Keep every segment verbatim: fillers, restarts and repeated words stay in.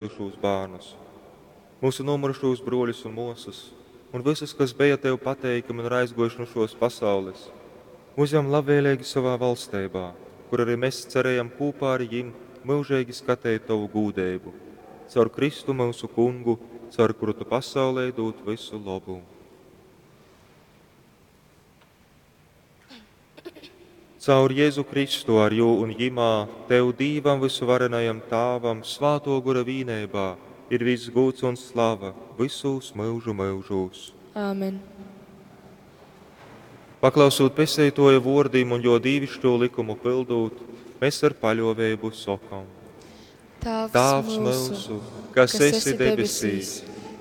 Pazudušūs bārnus, myusu nūmyrušūs brōļus un mōsas, un vysus, kas beja Tev pateikami un ir aizgōjuši nu šōs pasaules, uzjam labvēleigi sovā valsteibā, kur ari mes cerejam kūpā ar jim myužeigi skateit Tovu gūdeibu. Caur Kristu, myusu Kungu, caur kuru Tu pasaulei dūd vysu lobu. Caur Jezu Kristu, ar Jū un Jymā, Tev, Dīvam vysuvarenajam Tāvam, Svātō Gora vīneibā, ir vyss gūds un slava vysūs myužu myužūs. Āmen. Paklausūt Pesteitōja vōrdim un Jō dīviškū lykumu pyldūt, mes ar paļōveibu sokom. Tāvs, Tāvs myusu, kas esi debesīs,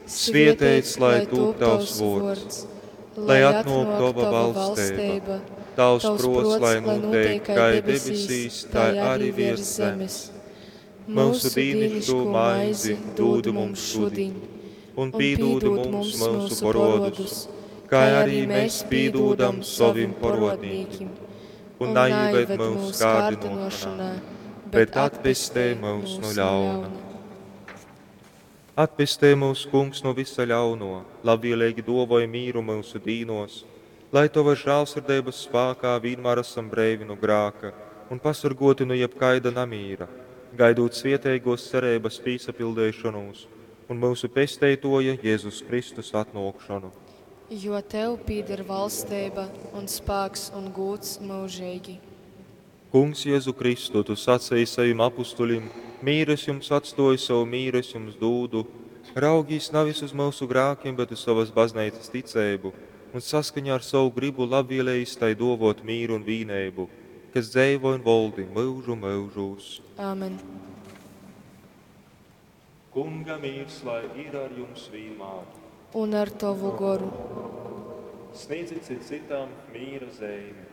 svieteits lai tūp Tavs vōrds, lai atnōk Tova valsteiba, Tavs prōts lai nūteik kai debesīs, tai arī viers zemes. Myusu dīniškū maizi dūd mums šudiņ, un pīdūd mums myusu porodus, kai arī mēs pīdūdam sovim porodnīkim. Un naīved myus kārdinošanā, bet atpestej myus nu ļauna. Atpestej myus, Kungs, nu vysa ļauno, labvieleigi duovoj mīru myusu dīnuos, lai Tovys žālsirdeibys spākā vīnmār asam breivi nu grāka un pasorguoti nu jebkaida namīra, gaidūt svieteiguos cereibys pīsapildeišonūs un myusu Pesteituoja Jezus Kristus atnuokšonu. Jo Tev pīder valsteiba un spāks un gūds myužeigi. Kungs Jezu Kristu, Tu saceji sovim apustuļim, Mīru es jums atstōju, sovu mīru es jums dūdu, raugīs navis uz myusu grākim, bet uz sovas bazneicas ticeibu, un saskaņā ar sovu grybu labvieleīs tai dōvōt mīru un vīneibu, kas dzeivoj un voldi myužu myužūs. Āmen. Kunga mīrs lai ir ar jums vīnmār. Un ar Tovu goru. Sniedzit cits cytam mīra zeimi.